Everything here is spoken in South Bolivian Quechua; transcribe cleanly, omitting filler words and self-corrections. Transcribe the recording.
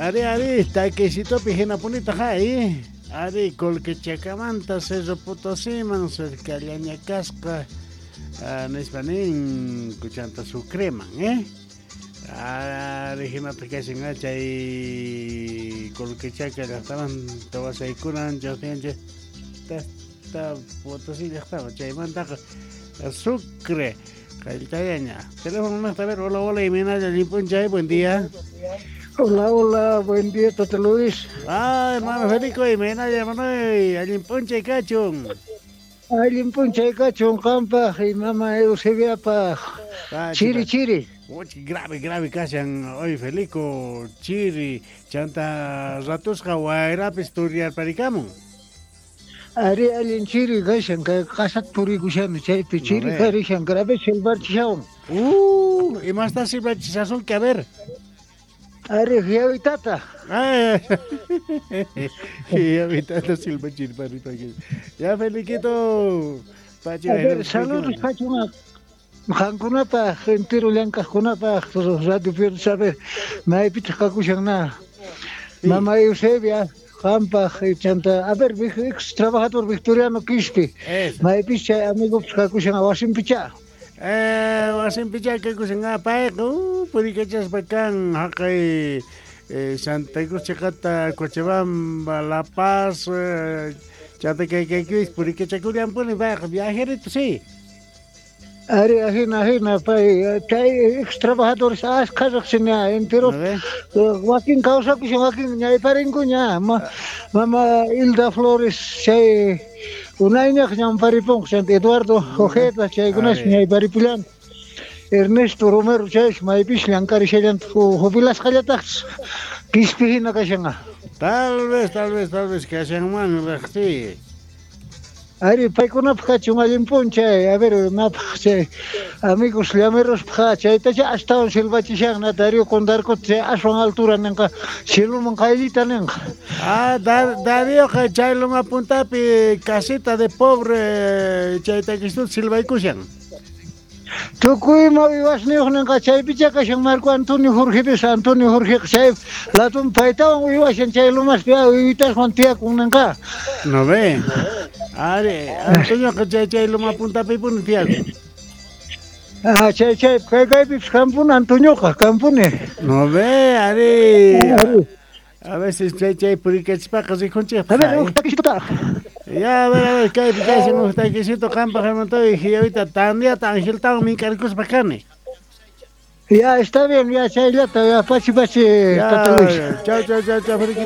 Ari, ari, taquecitopi hinapunitaq ay. Ari, Colquechakamanta Cerro Potosiman cercallaña kasqa nispa nin kuchanta Sucreman, eh? Ari, hinataq kashan chay Colquechaca llaqtamanta wasaykunan chaqtiyanchik ta Potosí llaqtaman chaymantaqa Sucre qayllitallaña. Teléfono a ver, hola, hola, imaynalla llimp'unchay, buen día. Hola, hola, buen día, Tata Luis. Ah, hermano Federico, imaynalla, hermano, allin p'unchay kachun. Allin p'unchay kachun qampaq y mama Eusebiapaq. Chiri, chiri. Grave, grave kashan hoy Felico, chiri, chanta ratusqa wayrapis turiyarparikamun. Ari allin chiri kashan, kay qasat purikushani chaypi chiri karishan, grave silbarchishawan. Imasta silbachishasunki, a ver. Ari hiawitata. Hiawitata silbachirparipaki. Ya Feliquito. A ver, saludos kachun qankunapaq, entero llank'aqkunapaq, Radio Pierdo Saber, maypitaq kakushan na. Mama Eusebia, qampaq, chanta, a ver, ex trabajador Victoriano Quispe. Maypis chay amigopis kakushan wasinpicha. Wasinpicha kakushan payqa, purikachaspa kan haqay Santa Cruz chiqata, Cochabamba, La Paz, chanta kay kaykuis purikachakullanpuni payqa viajerito, sí. Ari, ajina, ajina, pay, chay ex trabajadores ashkha riqsini entero wakin kawsakushan, wakin ñayparinkuña. Mama Hilda Flores, chay unayñaq ñamparipunqa, chanta Eduardo Ojeda, chaykunas ñayparipullan. Ernesto Romero chaysh maypis llank'arishallantaq jubilasqallataqchis Quispe hina kashanqa. Tal vez, tal vez, tal vez kashanman riqsi. Ari, paykunapaq kachun allin p'unchay, a ver, imapaq chay amigos llamerospaq chaytacha astawan silbachishan, Darío Condarcota chay aswan altura ninqa, cieloman qayllita ninqa. Ah, Darioqa chay loma puntapi casita de pobre chayta kistut silbaykushan. Tukuy ima uywasniyuq ninqa chaypicha kashan Marco Antonio Jorgepis, Antonio Jorgeqa chay latun paytawan uywashan chay lomaspi uywitaswan tiyakun ninqa. No ve. Ari, Antonioqa chay chay loma puntapi puni tiyakun. Ah, chay chay kay kaypipis kampuni Antonioqa, kampuni. No ve, ari. A veces chay chay purikachispaqa rikunchikpaq. A ver, uj taquisitota. Ya, a ver, kaypi kashan uj taquisito qampaq hermanotoy hiyawita tandiata angeltawan mink'arikuspa kani. Ya, está bien, ya chayllata, ya pachi pachi, Tata Luis. Chau, chau, chau, chau, Feliquito.